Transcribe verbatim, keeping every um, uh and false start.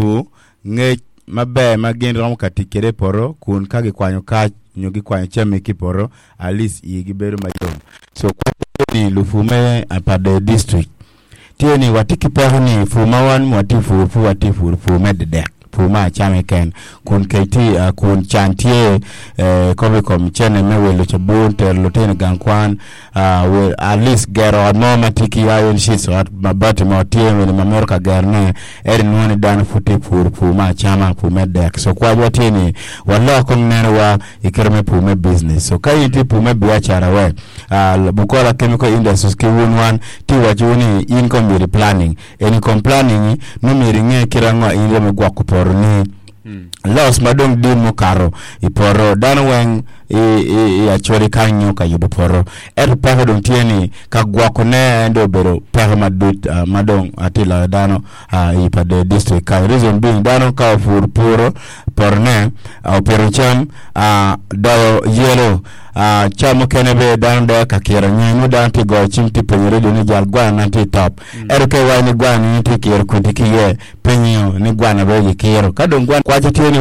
lupur ngec maber ma gin romo ka tic kwede i poto kun ka gikwanyo kac nyo gikwanyo cami ki i poto at least igi bedo mayom. So ni lupur me Pader district tye ni watye ki peko ni pur ma wan watye pur pur watye pur pur me dedek pur me acama keken kun kec tye uh, kun can tye eh, kobo i kom cene me wilo cabun tero lutino i gang kwan uh, at least gero ot mo ma tye ki iron sheets ot mabati mo tye wene ma mito ka gerone ento inwongo ni dano pud tye puro pur me acama pur me dek so kwacwa tye ni walok kong nenowa i kite me pur me business so ka in itye pur me biacara we uh, Bukola Chemical Industries ki wun wan tye wacowu ni in kong myero i planning eni kom planning nongo myero inge kite ango in iromo gwoko potoni loss ma dong dit mukato i poto dano weng i, i, i acholi kany nyo ka yubo poto ento peko dong tye ni ka gwokone en dong obedo peko madit uh, ma dong atye loyo dano uh, i Pader district kany reason being dano ka opuro puro potone uh, opito cam uh, doyo yelo uh, ca mukene be dano doyo ka kiro nyo nongo dano tye goyo cim tye penyo radio ni jal gwana na tye i top ento ka iwaco ni gwana ni tye kiro kwidi ki iye penyo ni gwana be gikiro ka dong gwana kwaco tye ni